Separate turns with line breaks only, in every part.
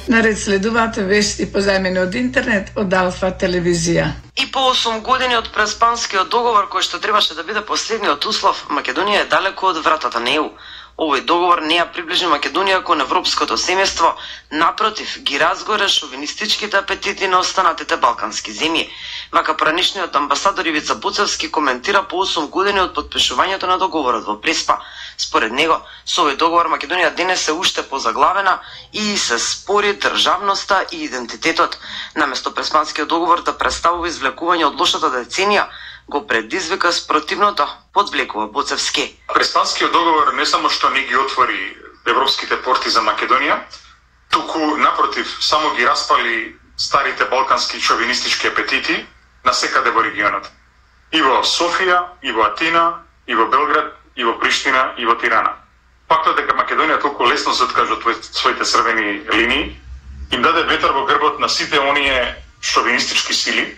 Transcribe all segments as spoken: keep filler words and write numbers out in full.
Наред следуваат вести позајмени од интернет од Алфа телевизија.
И по осум години од преспанскиот договор кој што требаше да биде последниот услов, Македонија е далеку од вратата на Е У. Овој договор не ја приближи Македонија кон европското семејство, напротив, ги разгоре шовинистичките апетити на останатите балкански земји. Вака поранешниот амбасадор Ивица Буцевски коментира по осум години од подпишувањето на договорот во Преспа. Според него, со овој договор Македонија денес е уште позаглавена и се спори државноста и идентитетот. Наместо Преспанскиот договор да представува извлекување од лошата деценија, го предизвика спротивното, подвлекува Буцевски.
Преспанскиот договор не само што не ги отвори европските порти за Македонија, туку напротив само ги распали старите балкански шовинистички апетити насекаде во регионот. И во Софија, и во Атина, и во Белград, и во Приштина, и во Тирана. Фактот дека Македонија толку лесно се откажа од своите црвени линии, им даде ветер во грбот на сите оние шовинистички сили,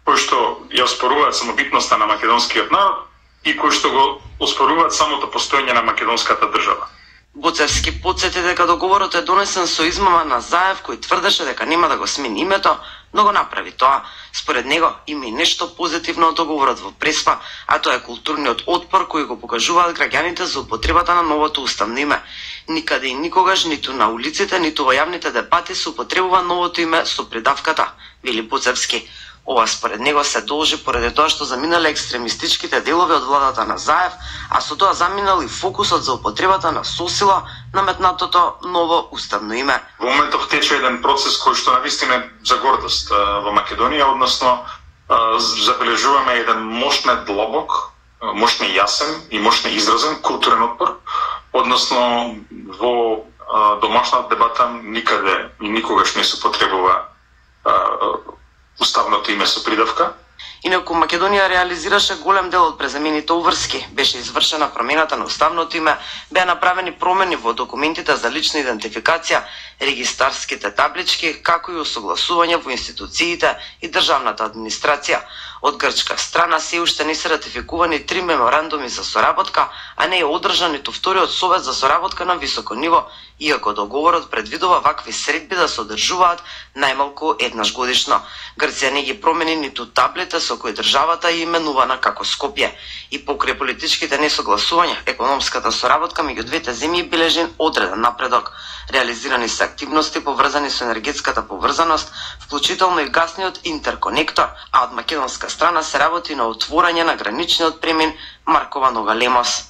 кои што ја оспоруваат самобитноста на македонскиот народ и кои што го оспоруваат самото постоење на македонската држава.
Буцевски потсети дека договорот е донесен со измама на Заев, кој тврдеше дека нема да го смени името, но го направи тоа. Според него има и нешто позитивно од договорот во Преспа, а тоа е културниот отпор кој го покажуваат граѓаните за употребата на новото уставно име. Никаде и никогаш, ниту на улиците, ниту во јавните дебати се употребува новото име со придавката, вели Буцевски. Ова според него се должи поради тоа што заминале екстремистичките делови од владата на Заев, а со тоа заминал и фокусот за употребата на сосила наметнатото ново уставно име.
Во моментов тече еден процес кој што навистина е за гордост во Македонија, односно забележуваме еден мощне длобок, мощне јасен и мощне изразен културен отпор, односно во домашната дебата никаде и никогаш не се употребува уставното име со придавка.
Инаку Македонија реализираше голем дел од презамените уврски. Беше извршена промената на уставното име, беа направени промени во документите за лична идентификација, регистарските таблички, како и усогласување во институциите и државната администрација. Од грчка страна се уште не се ратификувани три меморандуми за соработка, а не е одржан ниту вториот совет за соработка на високо ниво, иако договорот предвидува вакви средби да се одржуваат најмалку еднаш годишно. Грција не ги промени ниту таблите со кои државата е именувана како Скопје. И покрај политичките несогласувања, економската соработка меѓу двете земји бележи одреден напредок. Реализирани се активности поврзани со енергетската поврзаност, вклучително и гасниот интерконектор, а од македонска страна се работи на отворање на граничниот премин Маркова Нога-Лемос.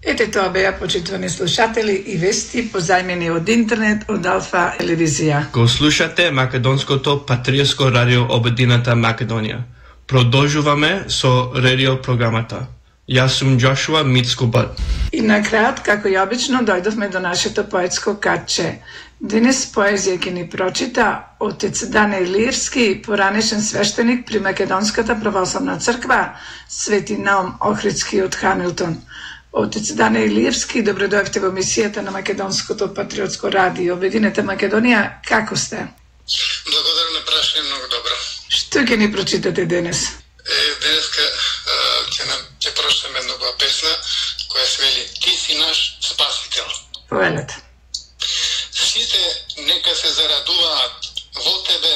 Ете тоа беа, почитувани слушатели, и вести позајмени од интернет од Алфа телевизија.
Го слушате македонското патриотско радио Обединета Македонија. Продолжуваме со радио програмата. Јас сум Джошуа Мицкубат.
И на крајот, како и обично, дојдовме до нашето поетско катче. Денес поезија ќе ни прочита отец Дане Илирски, поранешен свештеник при Македонската православна црква, Свети Наум Охридски од Хамилтон. Отец Дане Илирски, добро дојавте во емисијата на Македонското патриотско радио Обединета Македонија. Како сте?
Благодарам на прашање, многу добро.
Што ќе ни прочитате денес?
Е, денеска ќе нам ќе прочитаме една песна која се вели Ти си наш спасител.
Повелете.
Сите нека се зарадуваат во тебе